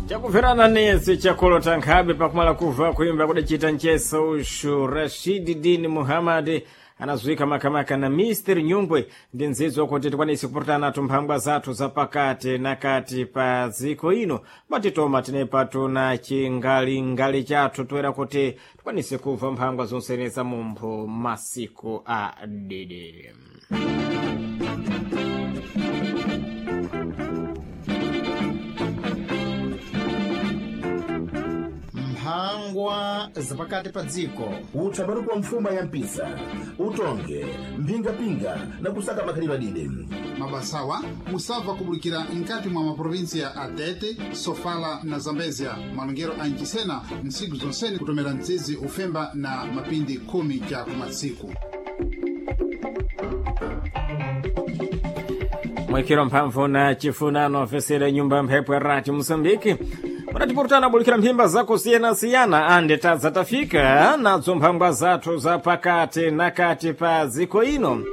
Chakumverana nese chakolota nkhabe pakumala kuva kuimba kudacita ncheso uxu Rashidi Dini Muhammad anazuika makamaka na Mr Nyungwe ndi nzidzo kuti tikwanise kupurutana nathu mphangwa zathu za pakati na kati pa dziko ino matitoma tinepa tuna chingalingali chathu toera kuti tikwanise kuva mphangwa zonsene za mumpho masiku a dede. Mphangwa zapakati pa dziko. Utsapatu kwa mfuma ya mpisa, utonge mphingapinga na kusaka makhalidwe adide. Mabasawa musabva kubulikira nkati mwa maprovinsiya a Tete, Sofala na Zambezia, malongero a Nchisena ntsiku zonsene kutomera mtsizi ufemba na mapindi khumi cha kumatsiku. Mwikiro mphamvu na chifunano ofesera nyumba mphepo ya rati Mosambiki munatipurutana bulikira mphimba zakusiyana-siyana ande tadza tafika nadzo mphangwa zathu za pakati na kati pa dziko ino.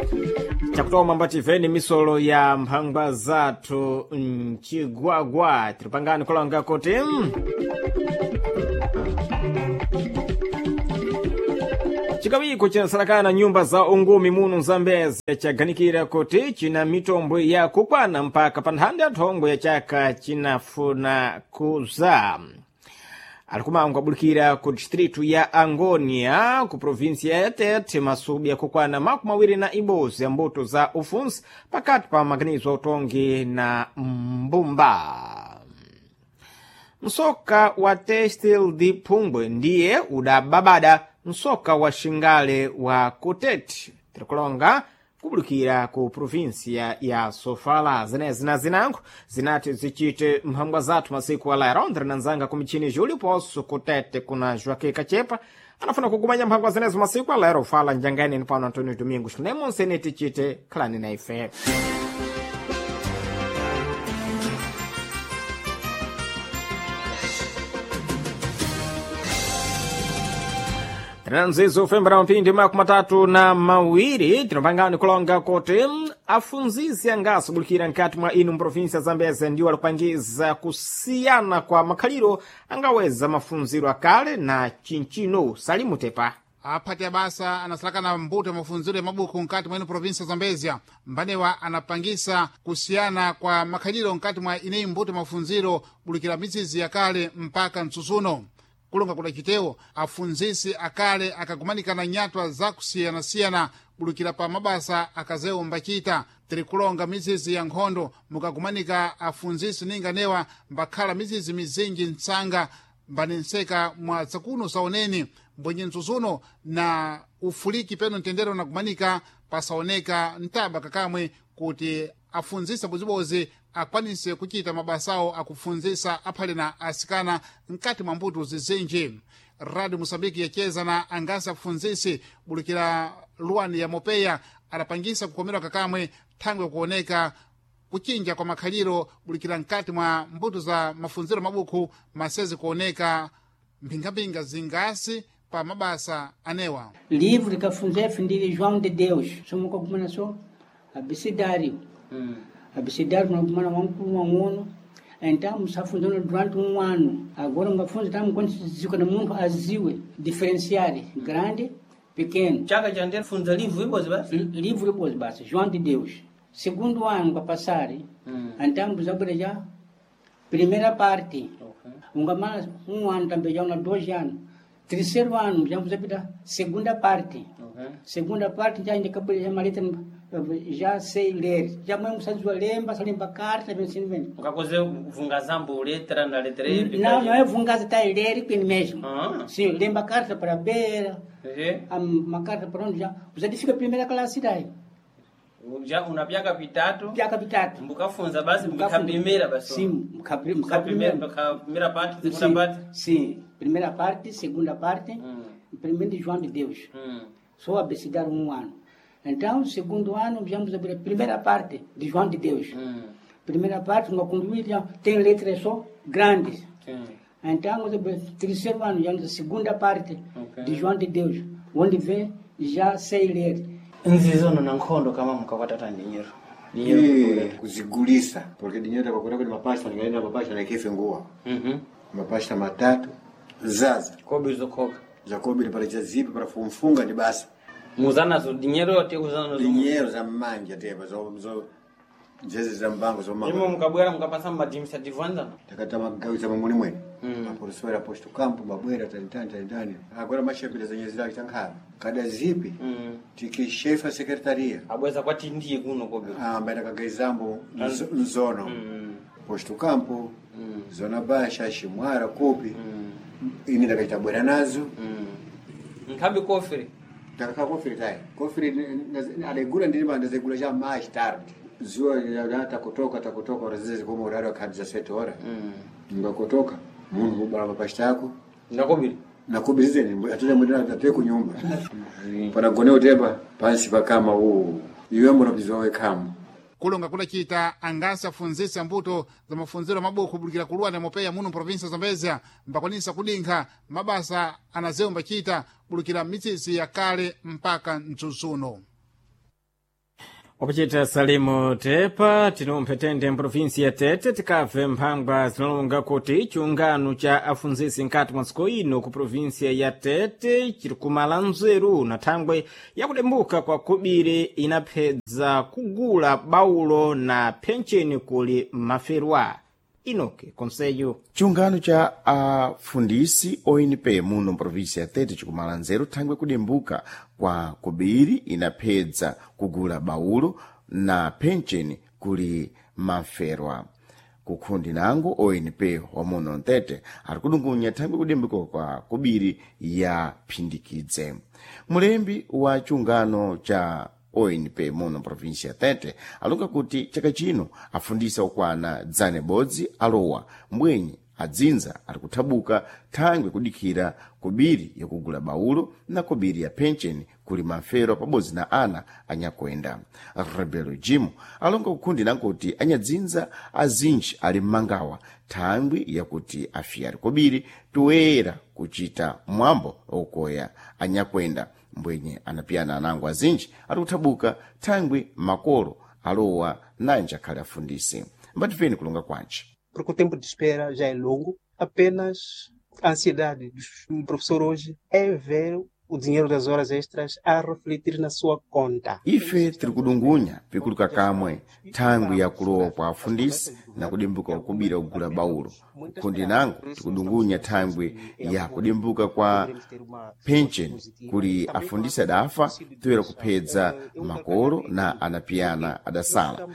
Chakutoma mbativeni misolo ya mphangwa zathu mchigwagwa tiripangani kulanga kuti chikawiko chinasalakana nyumba za ungumi muno Zambezi chaganikira kuti china mitombo yakukwana mpaka pa nthanda ya thongo ya chaka chinafuna kuza. Alikumangwa abulikira ku distritu ya Angonia ku provinsia ya Tete masubi yakukwana 21 ya mbuto za ufunsi pakati pa maganizo a utongi na mbumba. Msoka wa Textil di Pungwe ndiye udababada msoka wa Xingale wa Kutete tirikulonga kubulikira ku provinsia ya Sofala. Zenezi na zinango zinati zichite mphangwa zathu masiku ala Londre na nzanga ku michini Júlio Poço Kutete kuna Joaquim Kachepa anafuna kukumanya mphangwa zenezo masiku alero fala njangani pano Antonio Domingos nemonsene tichite khalani na ife. Tinanzizo ufembera mphindi 32 tinopangani kulonga kuti afunzisi angaso bulikira nkati mwa inu mprovinsia Zambeze ndiwo alikupangiza kusiyana kwa makhaliro angaweza mafunziro akale na chinchino. Salimutepa Aphati abasa anasalakana mbuto ya mafunziro ya mabuku nkati mwa ino provinsia ya Zambezia. Mbanewa anapangisa kusiyana kwa makhaliro nkati mwa ineyi mbuto ya mafunziro bulikira mizizi yakale mpaka mtsutsuno. Kulonga kudacitewo afunzisi akale akagumanikana nyatwa zakusiyanasiyana bulukira pa mabasa akazewo mbachita. Tiri kulonga mizizi ya nkhondo mukagumanika afunzisi ninganewa mbakhala mizizi mizinji mtsanga mbanenseka mwa zakuno saoneni mbwenye mtsutsuno na ufuliki peno mtendere unagumanika pasaoneka mtaba kakamwe kuti afunzisa bozibozi akwanise kuchita mabasawo akufunzisa aphale na asikana mkati mwa mbuto zizinji. Radio Mosambiki yacheza na angasi afunzisi bulikira luwani ya Mopeya adapangisa kukomerwa kakamwe thangwe kuoneka kuchinja kwa makhaliro bulikira mkati mwa mbuto za mafunziro mabuku masezi kuoneka mphingamphinga zingasi pa mabasa anewa. Livro likafunza ndili João de Deus somukakumana so abecedário. Abecedário munakumana wamkulu wang'ono, então musafunzana durante um ano. Agora ungafunza tamu quando na munthu aziwe diferenciar grande, pequeno. Chaka cha ndifunza livro ibozi basi. Livro ibozi basi, João de Deus. Segundo ano para passar, então muzabwera já primeira parte. Okay. Ungamala um ano também já una 2 anos. Terceiro ano já muzapita segunda parte. Okay. Segunda parte já ainda acabou já maleta já sei ler. Já mesmo sabe lemba, só lemba carta, bem assim bem. Ukakoze vunga zambo letra na letra E. Não, não é vungaza, tá ler bem mesmo. Ah. Sim, lemba carta para beira, Ehe. uma carta para onde já. Você fica primeira classe daí. Ja unapyaka pitatu. Pyaka vitatu. Mbukafunza basi mbukapimira basi. Sim, Mukapimira mukapimira. mukapimira parte, segunda parte. Sim, primeira parte, segunda parte, primeiro de João de Deus. Só abecedário um ano. Então, segundo ano, viemos abrir a primeira parte de João de Deus. Primeira parte, uma concluir, já tem letras só grandes. Sim. Então, terceiro ano, já a segunda parte Ok. de João de Deus, onde vem, já sei ler. Nzizono na nkhondo kama mukakwatata ndinyiro. Eh, kuzigulisa porque dinheiro takakona kuti mapasta ndingaenda mapasta naikefe nguwa mapasta matatu zaza Kobe zokhoka. zakobiri para chazipi para fumfunga ndi basa Muzanazo dinheiro yote kuzanazo. dinheiro za mmanja tepa zo zo njeze za mbango Imo zomanga mukabwera mukapasa madimisa anzana. takata magawisa mamuni mwene maporosora posto campo mabwera tanitani tanitani agora mashapira zenye zilaki tankhala kada zipi tikishefa sekretaria Abweza kwati ndiye kuno kobe. ambaye takagaizambo nzono posto campo zona basha shimwara kupi ini ndakaita bwera nazo Nkhabe kofere. ndakakhala kofiri tayi kofiri adaigula ndili ndazigula cha mais tarde zuwa takutoka takutoka ora zizi kuma urari wakhadi za sete hora ngakutoka munhu kubala mapashita ako Ndakobiri. nakubizeni atete kunyumba panagone utepa pansi pakama uwu iwe mbona wekhamu Kulonga kudacita angasi afunzisa mbuto za mafunziro mabuku kubulikira kuluwa na mopeya muno provinsia Zambezia mbakwanisa kudinkha mabasa anazewo mbacita bulukira mitsitsi ya kale mpaka mtsutsuno. Wapachita Salimu Tepa tinumphetende mprovinsi ya Tete tikabve mphangwa zinalonga kuti chiungano cha afunzisi nkati mwa dziko ino ku provinsia ya Tete chiri kumala nzeru na thangwe yakudembuka kwa kubiri inaphedza kugula baulo na phencheni kuli maferwa. Inoke Konseyo. Chiungano cha afundisi ONP muno mprovinsi ya Tete chikumala nzeru thangwe kudimbuka kwa kubiri inaphedza kugula baulo na pencheni kuli maferwa kukhundi nango ONP wamuno mtete ari kudungunya thangwe kudimbuka kwa kubiri ya phindikidze mulembi wa chiungano cha ONP muno provinsia ya Tete alonga kuti chaka chino afundisa okwana dzane bodzi alowa mbwenye adzinza ari kuthabuka thangwe kudikhira kubiri yakugula baulo na kubiri ya pencheni kuli mafero pabodzi na ana anyakwenda rebelo jimo alonga kukhundi nankuti anyadzinza azinji ali mmangawa thangwi yakuti afiyari kobiri toyera kuchita mwambo okoya anyakwenda mbwenye anapiyana anango azinji ari kuthabuka thangwi makolo alowa nanje akhale afundisi mbatifeni kulonga kwanji porque o tempo de espera já é longo. Apenas a ansiedade do professor hoje é ver o dinheiro das horas extras a refletir na sua conta. Ife tiri kudungunya pikuluka kamwe thangwi yakulowa kwa afundisi na kudimbuka kukubira kugula baulo kundi nango tikudungunya thangwi ya kudimbuka kwa pencheni kuli afundisi adafa toyera kuphedza makolo na anapiyana adasala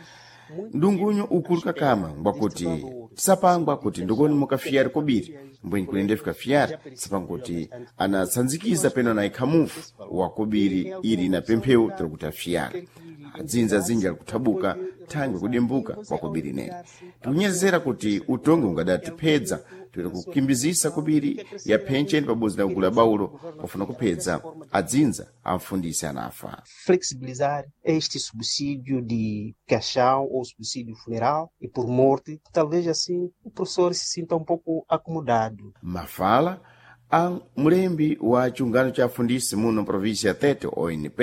ndungunyo ukuluka kamwe ngwakuti tisapangwa kuti ndikoni mukafiyari kobiri mbwenyi kulende fikafiyari tisapangwa kuti anatsanzikiza peno na ikhamufu wa kobiri ili na pempheu tiri kuti afiyari adzinza azinji ali kuthabuka thangwi kudimbuka kwa kobiri nene tikunyezera kuti utongi ungadatiphedza tiri kukimbizisa kobiri ya phencheni pabodzi na kugula baulo pofuna kuphedza adzinza amfundisi anafa Flexibilizar este subsídio de caixão ou subsídio funeral e por morte, talvez assim o professor se sinta pouco acomodado. Mafala a mlembi wa chiungano cha afundisi muno província ya Tete ONP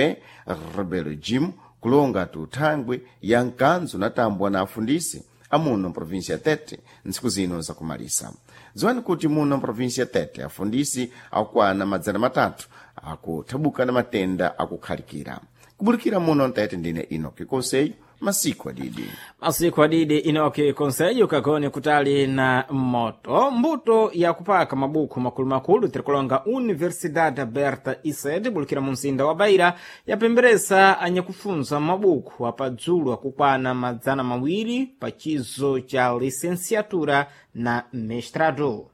Rebelo Jim kulonga tuthangwi ya mkanzo natambwa na afundisi amuno província ya Tete ntsiku zino zakumalisa dziwani kuti muno província ya Tete afundisi akukwana 300 akuthabuka na matenda akukhalikira kubulikira muno Tete ndine Enoki Konseyo masiku adidi Masiku adidi Inoki Konseyo kagone kutali na moto mbuto ya kupaka mabuku makulumakulu tirikulonga Universidade Aberta Ised bulikira mu mzinda wa Beira yapemberesa anyakufunza mabuku apadzulu akukwana 200 pa chizo cha licenciatura na mestrado.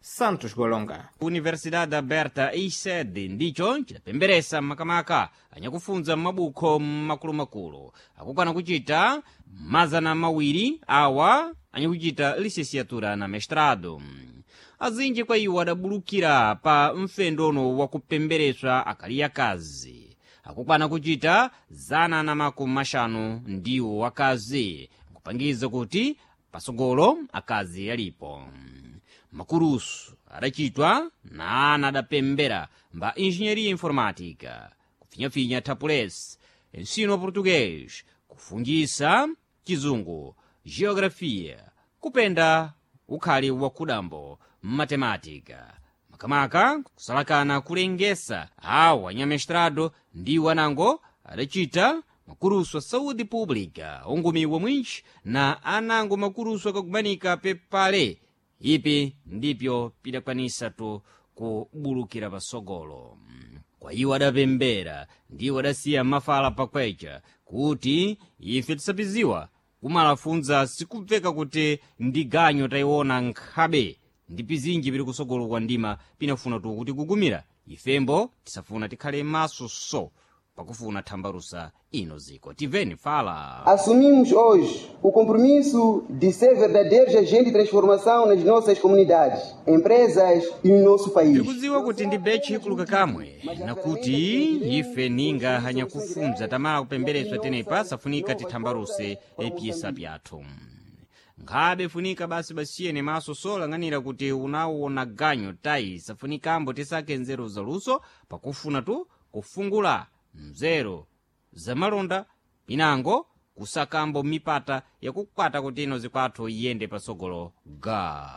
Santos Golonga. Universidade Aberta ISED ndicho chidapemberesa makamaka anyakufunza mabukho makulumakulu akukwana kuchita 200 awa anyakuchita licenciatura na mestrado. Azinji kwa iwo adabulukira pa mfendono wakupembereswa akali akazi akukwana kuchita 150 ndiwo wakazi nkupangiza kuti pasogolo akazi alipo. Makurusu adachitwa na ana adapembera mba engenharia informática, kufinyafinya tapulesi, ensino wa português, Kufungisa chizungu, geografiya, kupenda ukhali wakudambo, matematika, makamaka kusalakana kulengesa awo anyamestrado ndiwo anango adacita makuruso a saúde pública ongumiwa mwinji na anango makuruso akakumanika pepale ipi ndipyo pidakwanisatu kubulukira pasogolo. Kwa iwo adapembera ndiwo adasiya mafala pakwecha kuti ife tisapiziwa kumalafunza sikubveka kuti ndi ganyo tayiona nkhabe ndi pizinji pili kusogolo kwa ndima pinafuna tu kuti kugumira ifembo tisafuna tikhale maso so pakufuna thambalusa ino ziko tiveni fala. Assumimos hoje o compromisso de ser verdadeiros agentes de transformação nas nossas comunidades, empresas e no nosso país. Tikudziwa kuti ndi betchi ikuluka kamwe nakuti ife ninga hanyakufunza tamala kupembereswa tenepa safunika tithambaluse epyesa pyathu nkhabe funika basi basiyene maso solang'anira kuti unawona ganyo tayi safunikambo tisake nzeru zaluso pakufuna tu kufungula mzero zamalonda pinango kusakambo mipata yakukwata kuti ino zikwathu iyende pasogolo ga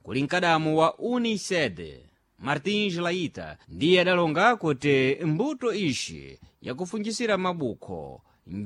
kuli mkadamu wa Uniced Martins Laita ndiye adalonga kuti mbuto ishi yakufunjisira mabukho.